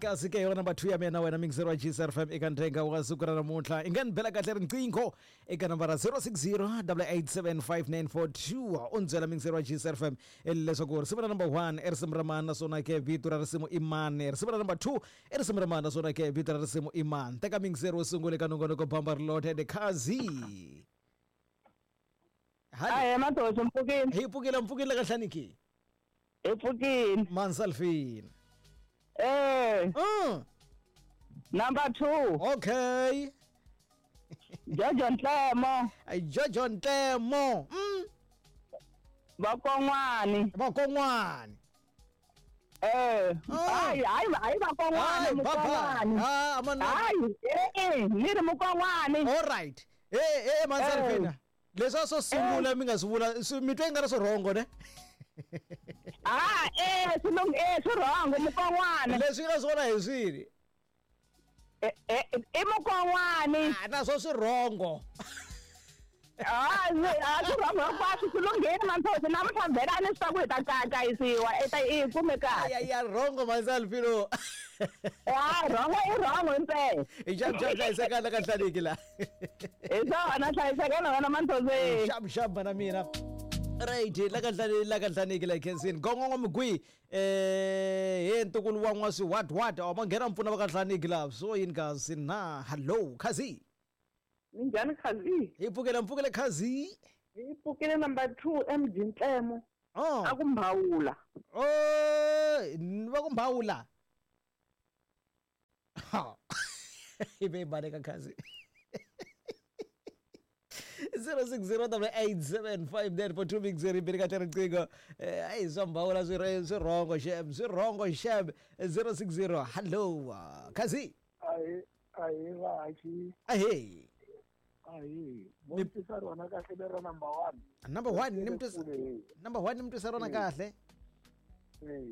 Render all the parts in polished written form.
Kasi ke yona number 2 ya mina wena mixer wa GCR FM eka nthenga wa siku ra namuntlha i nga ni bela kahle riqingho eka nambara 060 8875942 u ni byela mixer wa GCR FM leswaku risimu ra number 1 i risimu ra mani naswona ke vito ra risimu i mani, risimu ra number 2 i risimu ra mani naswona ke vito ra risimu i mani. Teka mixer wo sungula eka nongonoko Bamba Rilothe the Khazi. Ahee Mathosi mpfukile. Hi pfukile mpfukile ka hlaniki. Hi pfukile. Mansalfini. Eh. Number 2. Okay. Jojo Ntlemo. Jojo Ntlemo. Vakon'wani. Vakon'wani. Eh. Hayi hayi hayi vakon'wani mukon'wani. Ah, amana. Hayi eh ni ri mukon'wani. All right. Eh eh Mansalfina. Leswi a swo sungula mi nga swi vula mi twa i nga ri swi rhongo ne? Ah eh swi lung eh swi rhongo mukon'wana. Leswi nga swona hi swini? Eh eh i mukon'wani. Ah naswo swi rhongo. Ah swi rhongo hinkwaswo swi lunghile Manthosi namuntlha vhela a ni swi tiva ku hi ta kayakayisiwa i ta i kume kahle. Ya ya rhongo Mansalfino. Ah rhongo i rhongo impela. Hi xap xap hlayisekana ka hlaniki la. Hi swona hlayisekana wena Manthosi. Xap xap mana mina. Right la ka hlani la ka hlaniki la khensini. Gongongo migwi eh he ntukulu wa n'wasi what what a ma nghena mpfuna va ka hlaniki la so yini kasi na hello Khazi. Minjhani Khazi? Hi pfukele mpfukele Khazi. Hi pfukile number 2 MG Ntlemo. Oh. A ku mbhawula. Oh, va ku mbhawula. Ha. Hi ve baleka Khazi. 0608875942 mixer ibiri kahle riqingho. Ayi swa mbhawula swi swi rhongo xem, swi rhongo xem. 060 hello Khazi. Ahi ahi vaaki. Ahe. Ahi. Mo twisa rona kahle lera number 1. Number 1 ni mtwisa. Number 1 ni mtwisa rona kahle. Eh.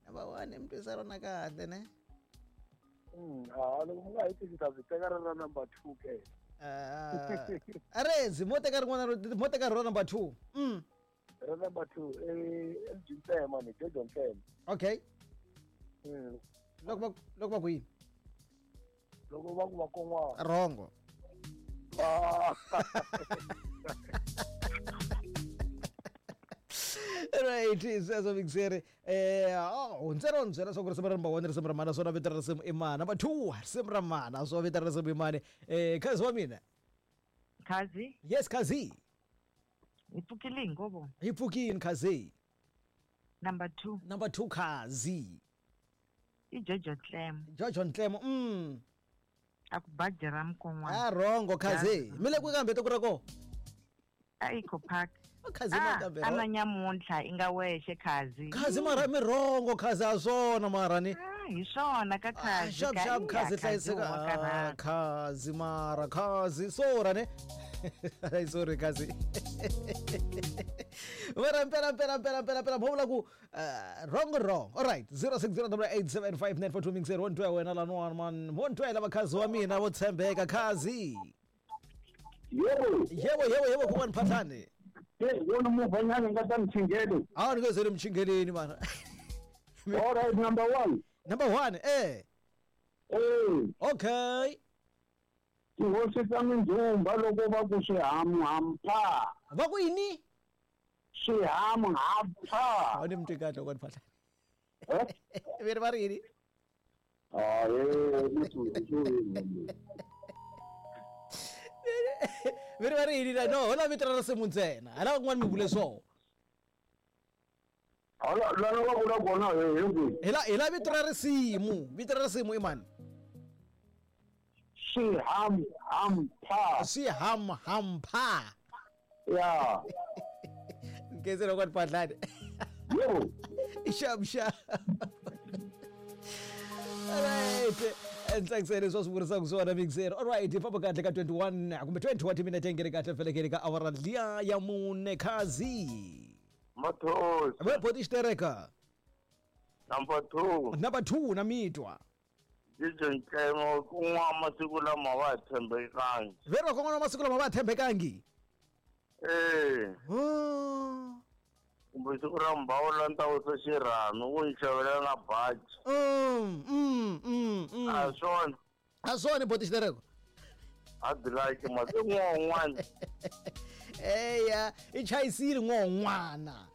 Number 1 ni mtwisa rona kahle ne. Ah loko mi nga hi tisi ta byi teka ra number 2 ke. Arezi mo teka rin'wana mo teka rona number 2. Ra number 2 eh MG Ntlemo ni Jojo Ntlemo. Okay. Loko loko va ku yini? Loko va ku va kon'wana. Rhongo. Right, sweswo mixere eh oh ntsena ni byela swa ku risimu ra number 1 risimu ra mana swona vito ra risimu i mani, number 2 risimu ra mana swo vito ra risimu i mani. Eh Khazi wa mina. Khazi? Yes Khazi. Hi pfukile hinkwavo. Hi pfukile Khazi. Number 2. Number 2 Khazi. I Jojo Ntlemo. Jojo Ntlemo. A ku baji ra mukon'wana. Ah rhongo Khazi. Mi le kwihi kambe tiko ra kona? A Eco Park. Khazi ma kambe. A na nyamuntlha i nga wexe Khazi. Khazi mara mi rhongo Khazi a swona mara ni. Ah hi swona ka Khazi. Xap xap Khazi hlayiseka. Khazi mara Khazi sora ne. Ay sorry Khazi. Mara mpela mpela mpela mpela mpela mo vula ku wrong wrong. All right 0608875942 mixer one twa wena la nwana man. Mo ntwa lava Khazi wa mina vo tshembeka Khazi. Yebo. Yebo yebo yebo kuwani phahlani. Hey, wona muvanyana nga ta mchingelo. Ah ni ngezele mchingeleni mana. All right number 1. Number 1 eh. Eh. Okay. Tihosi ta mindzhumba loko va ku swihamuhampha. Va ku yini? Swihamuhampha. A ni mtwi kahle loko ni phahla. Veri va ri yini? Ah eh Veri va ri yini la no hola vito ra risimu ntsena. Hala kun'wana mi vule swona. Hala la va vula kona hi kwihi? Hi la vito ra risimu. Vito ra risimu i mani? Swihamuhampha. Swihamuhampha. Ya. Ngeze loko ni phahlani. Yebo. Xap xap. Alright. Ntsakisele leswi va swi vurisaka swona mixer. Alright, hi famba kahle ka 21 kumbe 20 wa timinete ngene kahle felekele ka awara liya ya mune Khazi. Mathosi. Ve boti xitereka. Number 2. Number 2 na mitwa. Jojo Ntlemo kun'wa masiku lama va tshembekangi. Veri va kon'wana masiku lama va tshembekangi. Eh. Oh. Kumbe siku ra mbawula ni ta wisa xirhami ku ni xavela na baji. A swona. A swona boti xitereko. A dilaki masiku n'wan'wana. Eya, i chayisile n'wan'wana.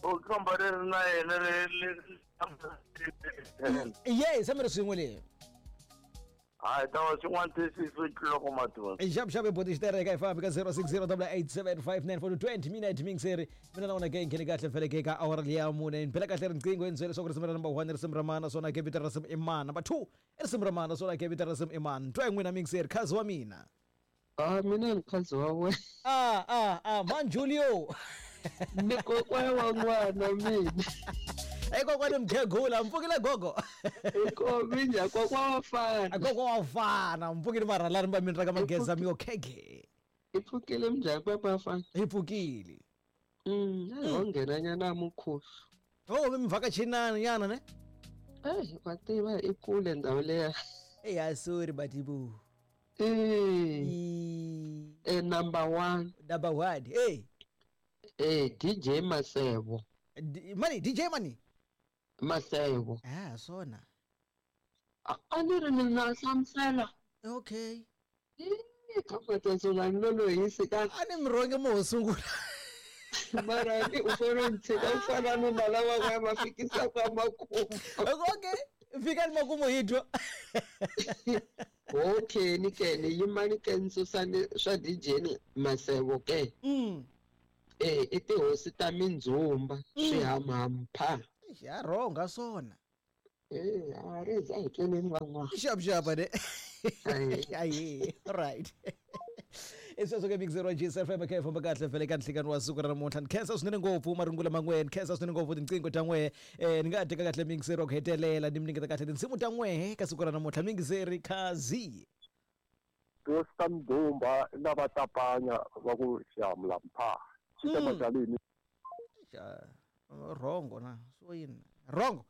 U kamba leri na yena leri. Ye, se mi ri swin'we leyi. Hayi ta va swin'wana tisisi tluloko madyondza. Xavuxavu boti xitereka hi fambi ka 0608875942 20 minute mingiseri mina na wona ke nghene kahle feleke ka awara liya mune ni bela kahle riqingho ni byela leswaku risimu ra number 1 risimu ra mana naswona ke vito ra risimu i mana number 2 i risimu ra mana naswona ke vito ra risimu i mana twa n'wina mingiseri khazi wa mina. Ah, mina ni khazi wa wena. Ah ah ah man Julio. Ni kokwana wa n'wana mina. Ey kokwani mkhegula mpfukile gogo. Minja kokwa wa fana. Gogo wa fana mpfukile marhalani va mina ra ka mageza mi yo khege. I pfukile minjhani papa fana? Hi pfukile. Ho nghena nyana mukhuhlu. Oh mi vhakachinana nyana ne? Eh, wa tiva i kule ndhawu leya. Eya sorry batibu. Eh, number 1. Number 1. Hey. Eh, DJ Masebo. Mani DJ mani? Masebo. Ah, swona. A ni ri ni na hlamusela. Okay. Ka matsonga ni lolohisi ka. A ni mi rhonge mo ho sungula. Mara ni u fanele u tshika u fana ni na lava va va fikisaka makumu. Okay. Fika ni makumu hi twa. Okay, ni ke ni yima ni ke ni susa ni swa DJ Masebo ke. Eh, i tihosi ta mindzhumba swihahampha. Ya rhonga swona. Eh, a ri za hi tleneni van'wana. Xavuxava ne. Ayi, right. I sweswo ke mixero G75 khe famba kahle vhele ka nhlikani wa siku ra namuntlha. Ni khensa swinene ngopfu marungula man'we, ni khensa swinene ngopfu tinqingho ta n'we. Ni nga teka kahle mixero ku hetelela ni mi nyiketa kahle tinsimu ta n'we ka siku ra namuntlha. Mixeri Khazi. Tihosi ta Mdumba na va Tapanya va ku xihamulampha. Xitamajalini. Rhongo na swo yini rhongo.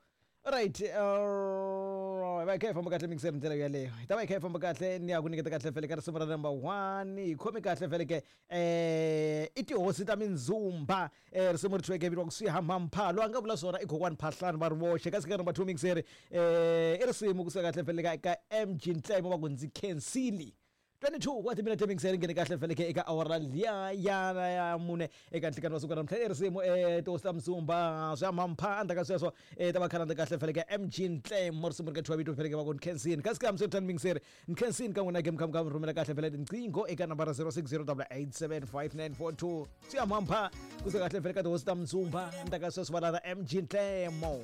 Alright, va kha hi famba kahle mixer ndlela yaleyo. Hi ta va hi kha hi famba kahle ni ya ku nyiketa kahle vhele ka risimu ra number 1. Hi khome kahle vhele ke i tihosi ta mindzumba risimu ri thyiweke vitiwa ku swihahampha. Loyi a nga vula swona i kokwani Phahlani va ri voxe. Kasi ka number 2 mixer i risimu kusuka kahle vhele ka MG Ntlemo va ku ndzi khensile. 22 wa timinete mixer nghene kahle vhele ke eka awara liya ya mune eka nhlikani wa siku ra namuntlha. I risimu tihosi ta Mzumba swihahampha endzhaku ka sweswo ta va khalanda kahle vhele ke MG Ntlemo risimu ri ka thyiwa vito vhele ke va ku nkhensini. Kasi ka msirithani mixer nkhensini ka n'wina ke mukha mi rhumela kahle vhele tinqingho eka nambara 0608875942 swihahampha kusuka kahle vhele ka tihosi ta Mzumba endzhaku ka sweswo va lava MG Ntlemo.